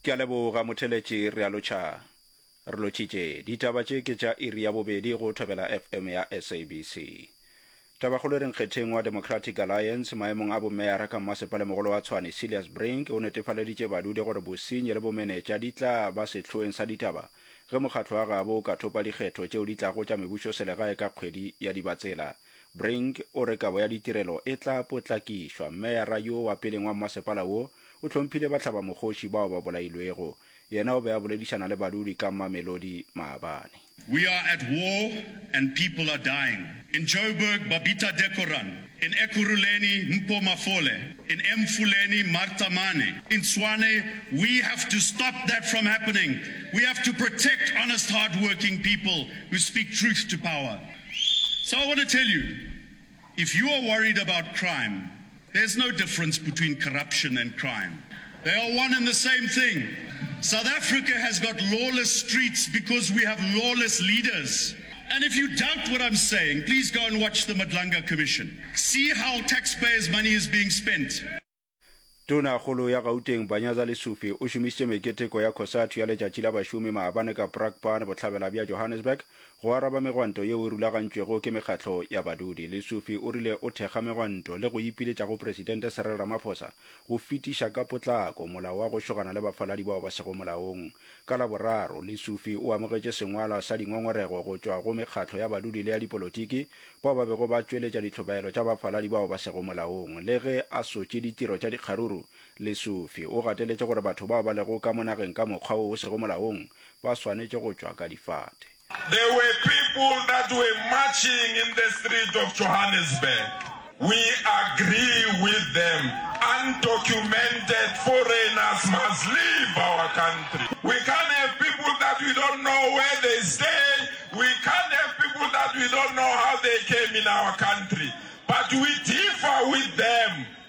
Ke a leboga motheletši re a lotšha. Re lotšhitše. Ditaba tše ke tša iri ya bobedi go Thobela FM ya SABC. Tabakgolo e re nkgetheng wa Democratic Alliance maemong a bomeyara ka mmasepalemogolo wa Tshwane Cilliers Brink o netefaleditše badudi gore bosenyi le bomenetša di tla ba sehloeng sa ditaba ge mokgatlo wa gabo o ka thopa dikgetho tšeo di tlago tša mebušoselegae ka kgwedi ya Dibatsela. Brink o re kabo ya ditirelo e tla potlakišwa. Meyara yo wa peleng wa mmasepala wo o hlomphile bahlabamokgoši bao ba bolailwego. Yena o be a boledišana le badudi ka Mamelodi maabane. We are at war and people are dying. In Joburg, Babita Dekoran. In Ekurhuleni, Mpho Mafole. In Emfuleni, Martha Mane. In Tshwane, we have to stop that from happening. We have to protect honest, hardworking people who speak truth to power. So I want to tell you, if you are worried about crime, there's no difference between corruption and crime. They are one and the same thing. South Africa has got lawless streets because we have lawless leaders. And if you doubt what I'm saying, please go and watch the Madlanga Commission. See how taxpayers' money is being spent. Tonakgolo ya Gauteng Panyaza Lesufi o šomišitše meketeko ya Cosatu ya Letšatši la Bašomi maabane ka Brakpan, bohlabela bja Johannesburg, go araba megwanto yeo e rulagantšwego ke mekgatlo ya badudi. Lesufi o rile o thekga megwanto le go ipiletša go Presidente Cyril Ramaphosa go fetiša ka potlako molao wa go šogana le bafaladi bao ba sego molaong. Ka Laboraro, Lesufi o amogetše sengwalwa sa dingongorego go tšwa go mekgatlo ya badudi le ya dipolotiki bao ba bego ba tšweletša dihlobaelo tša bafaladi bao ba sego molaong. Le ge a sotše ditiro tša dikgaruru, Lesufi o gateletše gore batho bao ba lego ka mo nageng ka mokgwa wo o sego molaong ba swanetše go tšwa ka difate. There were people that were marching in the street of Johannesburg. We agree with them. Undocumented foreigners must leave our country. We can't have people that we don't know where they stay. We can't have people that we don't know how they came in our country. But we.